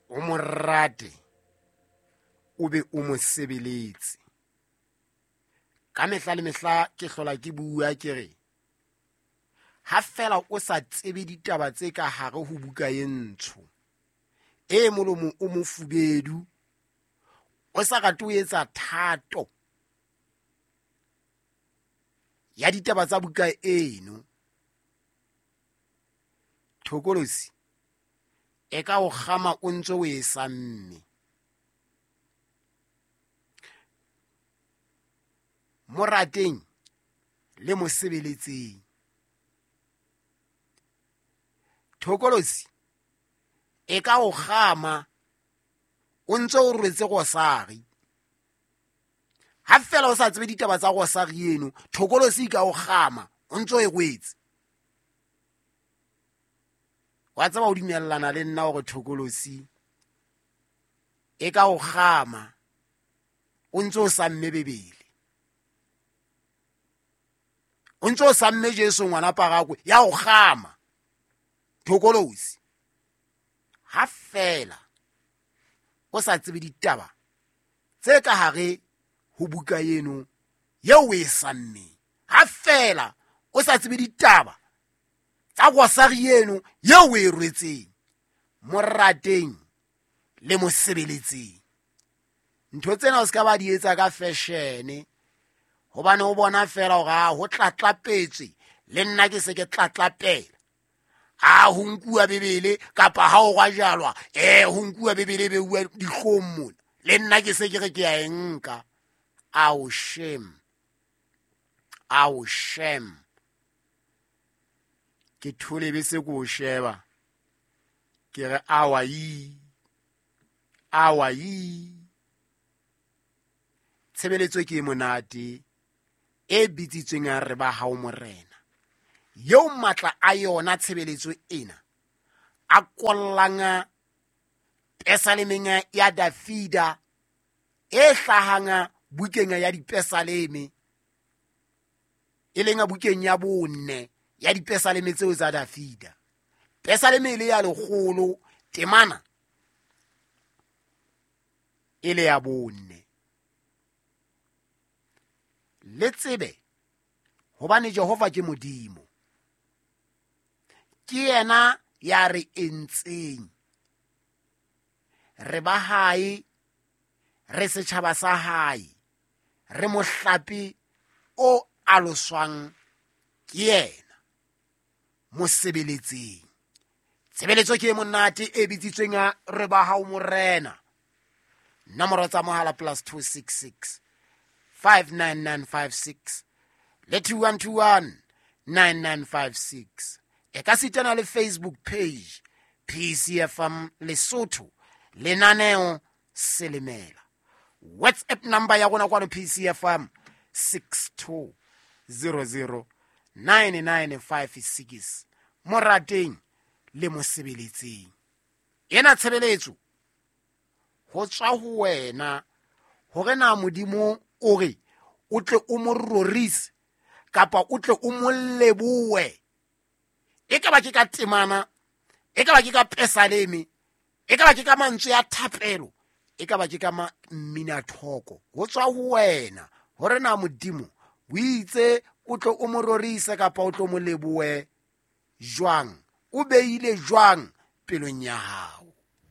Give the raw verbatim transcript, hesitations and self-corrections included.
O mo rate, o be o mo sebeletse. Ka mehla le mehla ke hlola ke bua ke re, ha fela o sa tsebe ditaba tse ka hare ho buka e ntsho, e molomo o mofubedu, o sa rate ho etsa thato ya ditaba tsa buka eno, thokolosi e ka o kgama o ntse o e samme. Mo rateng le mo sebeletseng. Thokolosi e ka o kgama o ntse o rwetse rosari. Ha fela o sa tsebe ditaba tsa rosari eno, thokolosi e ka o kgama o ntse o e rwetse. Wa tseba o dumellana le nna hore thokolosi e ka o kgama o ntse o samme Bebele, o ntse o samme Jesu ngwana Parakwe, ya o kgama thokolosi. Ha fela o sa tsebe ditaba tse ka hare ho buka eno eo o e sammeng, ha fela o sa tsebe ditaba tsa rosari eno eo o e rwetseng, mo rateng le mo sebeletseng. Ntho tsena o se ka ba di etsa ka fashion, hobane o bona fela hore a ho tlatlapetswe, le nna ke se ke tlatlapela. A ho nkuwa Bebele kapa ha o rwajalwa, eh ho nkuwa Bebele e beuwa dihlong mona, le nna ke se ke re ke a e nka. Ao shame, ao shame. Ke thole be se ko o sheba, ke re awa yi, awa yi. Tshebeletso ke e monate e bitsitsweng ya re ba hao Morena, eo matla a yona tshebeletso ena a kollang pesalemeng ya Dafida e hlahang bukeng ya dipesaleme, e leng bukeng ya bone ya dipesaleme tseo tsa Dafida. Pesaleme e le ya lekgolo, temana e le ya bone. Le tsebe hobane Jehova ke Modimo, ke yena ya re entseng, re ba hae, re setjhaba sa hae, re mohlape o aloswang ke yena. Mo sebeletseng. Tshebeletso ke e monate e bitsitsweng ya re ba hao Morena. Nomoro tsa mohala plus two six six five nine nine five six le two one two one nine nine five six. E ka sitana le Facebook page P C F M Lesotho, lenaneo Selemela. WhatsApp number ya rona kwano P C F M six two zero zero nine nine five six. Mo rateng le mo sebeletseng. Ena tshebeletso ho tswa ho wena hore na Modimo o re o tle o mo rorise kapa o tle o mo lebohe. E ka ba ke ka temana, e ka ba ke ka pesaleme, e ka ba ke ka mantswe a thapelo, e ka ba ke ka mminathoko. Ho tswa ho wena hore na Modimo o itse o tle o mo rorise kapa o tle o mo lebohe jwang, o beile jwang pelong ya hao.